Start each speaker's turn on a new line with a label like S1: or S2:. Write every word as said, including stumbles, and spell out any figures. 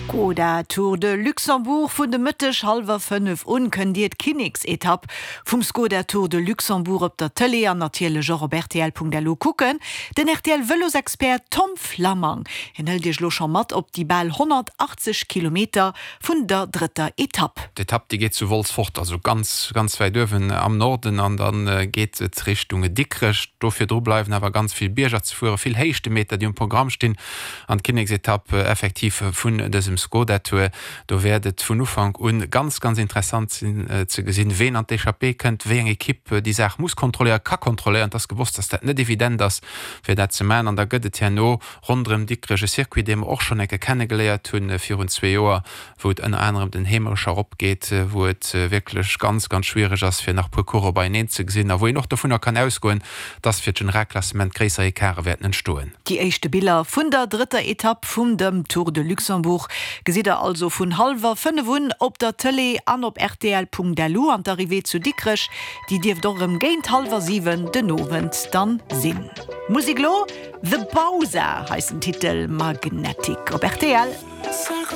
S1: Skoda Tour de Luxembourg. Vun de Mëtteg hallwer fënnef un kënnt Dir d'Kinneksetapp vum Skoda Tour de Luxembourg op der Tëlee an natierlech och op rtl.lu kucken. Den R T L Vëlosexpert Tom Flammang, hien hëlt Iech lo scho mat op déi bal honnertachtzeg Kilometer vun der drëtter Etapp.
S2: D'Etapp, déi geet zu Wolz fort, also ganz, ganz wäit uewen am Norden an dann geet et Richtung Dikrech. Do virdru bleiwen awer ganz vill Bierger ze fueren, vill Héichtemeter, déi um Programm stinn an d'Kinneksetapp effektiv vun dësem Skoda Tour. Do wäert et vun Ufank un ganz, ganz interessant sinn ze gesinn, ween an d'Echappée kënnt, wéi eng Ekipp déi Saach muss kontrolléieren, ka kontrolléieren. Et ass gewosst, dass dat net evident ass, fir dat ze maachen. An da gëtt et herno ronderëm Dikrech e Circuit, dee mer och schonn eng Kéier kennegeléiert hunn virun zwee Joer, wou et ënner anerem den Heemerecher erop geet, wou et wierklech ganz, ganz schwiereg ass, fir nach e puer Coureur beieneen ze gesinn a wou een och dovunner kann ausgoen, dass fir d'Generalklassement gréisser Ecarte wäerten entstoen.
S1: Déi éischte Biller vun der drëtter Etapp vum dem Tour de Luxembourg gesitt der also vun hallwer fënnef un op der Tëlee an op rtl.lu an d'Arrivée zu Dikrech, déi dierft och erëm géint hallwer siwen den Owend dann sinn. Musek lo, The Bausa heisst den Titel, Magnetic op R T L.